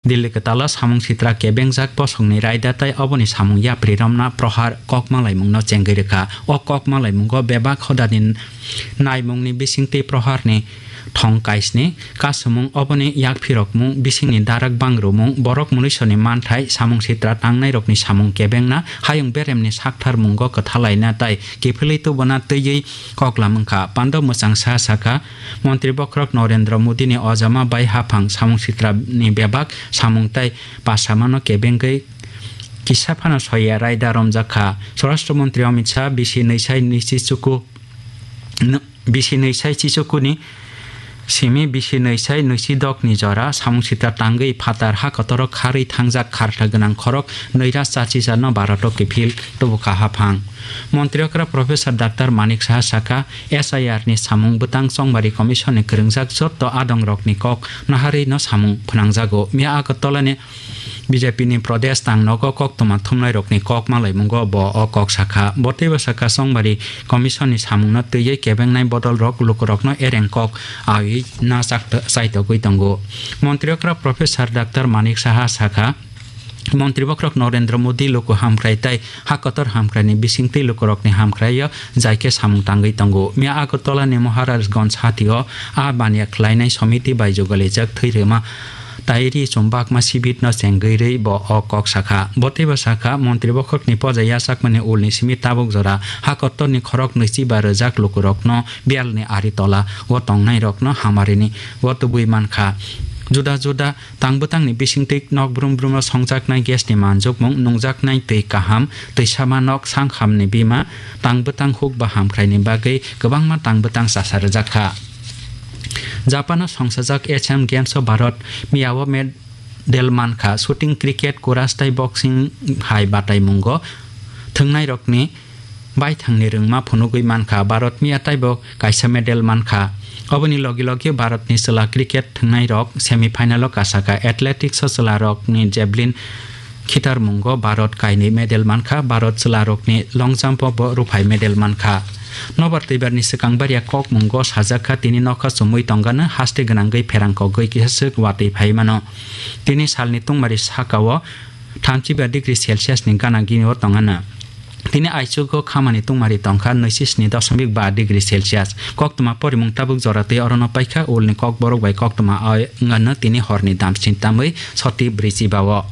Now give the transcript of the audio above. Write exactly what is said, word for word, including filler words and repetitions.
Delhi kwtalo samung sitra kebengjak bosongni raida tei oboni samung yapri romna prohar kok malaimungno chengwi rwkha. O kok malaimungo bebak hodani naimungni bisingtwi proharni thong kaisni kasumung, oboni yakphirokmung, bisingni darak bangrumung, borok munuisoni manthai, samung sitra tangnairokni samung kebengna, hayung beremni saktharmungo kwthalaina tei kiphilwi tubuna twiwi koklam wngkha. Pando mwchang sa sakha, Montri bokhorok Narendra Modini ojama bai haphang samung sitrani bebak samung tei pasamano kebengwi kisa phano soya raida romjak kha. Swarashtra Montri Amit Shah bisi nwi sai nwi si chuku, bisi nwi sai chichukuni simi bisi nwi sai nwi si dokni jora samung sitra tangwi phatar ha kotoro kharwi thangjak kharta gwnang khorok nwi ra chachi jarno Bharat o kiphil tubukha haphang. Montri okra Professor Doctor Manik Saha sakha, S I R ni samung bwtang chongbari commission ni kwrwngjak jotto adong rokni kok naharwi no samung phwnangjago. Miya Agartala ni B J P ni Pradesh tang nogo koktwma thumnai rokni kok malaimungo bo o kok sakha. Bo teibo sakha, chongbari commission ni samung no twiwi kebengnai bodol rok lukurok no ereng kok awi na chakto-, chaitogwi tongo. Montri okra Professor Doctor Manik Saha sakha, Montri bokhorok Narendra Modi luku hamkrai tei ha kotor hamkraini bisingtwi lukurokni hamkraio jaikhe samung tangwi tongo. Miya Agartala ni Maharajganj hatio a baniya khlainai somiti bai jugalijak thwi rwma tai ri chumbakma sibit no chengwi rwi bo o kok sakha. Bo teibo sakha, Montri bokhorokni poja yachakmani ulni simi tabuk jora ha kotorni khorok nwichi ba rwjak lukurokno biyalni ari tola o tongnairokno hamarini o tubui mankha. Juda juda tang bwtangni bisingtwi nok brum brum o songjaknai gas ni manjukmung, nungjaknai twi kaham, twisama nok, sangkhamni bima, tang bwtang huk ba hamkraini bagwi kwbangma tang bwtang chasa rwjak kha. Japan o songsajak Asian Games o Bharat miyao medal mankha, shooting, cricket, kuras tei boxing hai bataimungo thwngnairokni baithangni rwngma phunugwi mankha. Bharat miya taibo kaisa medal mankha. Oboni logi logi Bharatni chwla cricket thwngnairok semi final o kasakha. Athletics o chwlarokni javelin khitarmungo Bharat kainwi medal mankha. Bharat chwlarokni long jump o bo ruphai medal mankha. Nobar twibarni swkang bariya kokmungo sajakha, tini nokha chumui tongano haste gwnangwi pherang kogwi kisa swk watwi phai mano. Tini salni tungmari sakao thamchi ba degree Celsius ni gana gini o tongano. Tini aichugo khamani tungmari tongkha nwichi sni dosmik ba degree Celsius. Koktwma porimung tabuk jora twi orono paikha, ulni kokborok bai koktwma o wngano tini horni damsni tamwi soti brwichi bao.